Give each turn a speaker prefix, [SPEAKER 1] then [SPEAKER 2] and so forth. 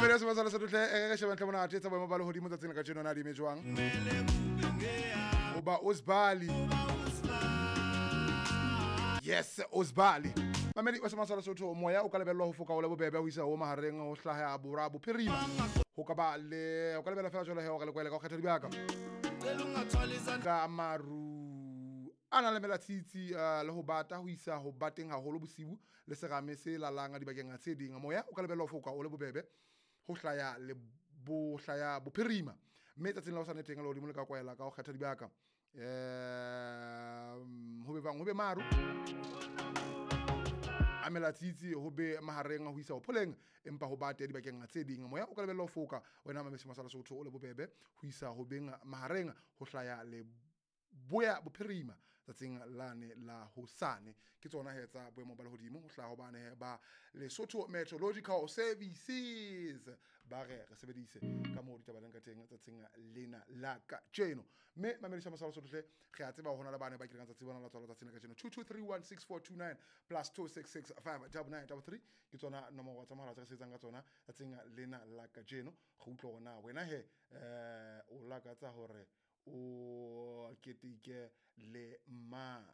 [SPEAKER 1] Mamedi wa Semasa Lesotho hle, re shebe ntle monate tsa boemo ba lehodimo tsatsing la kajeno na di eme jwang. Hoba Osbali. Yes, Osbali. Mamedi wa Semasa Lesotho, moya o ka lebellwa ho foka o le bobebe ho isa ho mahareng ho hlaha borwa bophirima. Ho ka ba le o ka lebella fela jwalo he hore le kwele ka ho kgetha dibaka. Ka maru a nang le melatsitsi le ho bata ho isa ho bateng haholo bosiu le serame se lalang dibakeng tse ding. Moya o ka lebellwa ho foka o le bobebe ho hlaya le bo hlaya bophirima. Mme tsatsing la hosane teng lehodimo le ka kwela ka ho kgetha dibaka. Ho be bang ho be maru a melatsitsi ho be mahareng ho isa ho pholeng empa ho bate dibakeng tse ding. Moya o ka lebellwa ho foka wena Mamedi Semasa Lesotho o le bobebe ho isa ho beng mahareng ho hlaya le boya bophirima tsatsing lane la hosane. Ke tsona he tsa boemo ba lehodimo ho hlaha hobane he ba Lesotho Meteorological Services ba re re sebedise ka moo ditaba leng ka teng tsatsing lena la kajeno. Mme Mamedi Semasa Lesotho hle, re a tseba hore hona le bane ba kileng tsatsi bona la tswalo tsatsing la kajeno. 22316429 plus 2665993 ke tsona nomoro tsa mohala tse re sebetsang ka tsona tsatsing lena la kajeno. Re utlwe hore na wena he o lakatsa hore o keteke le mang.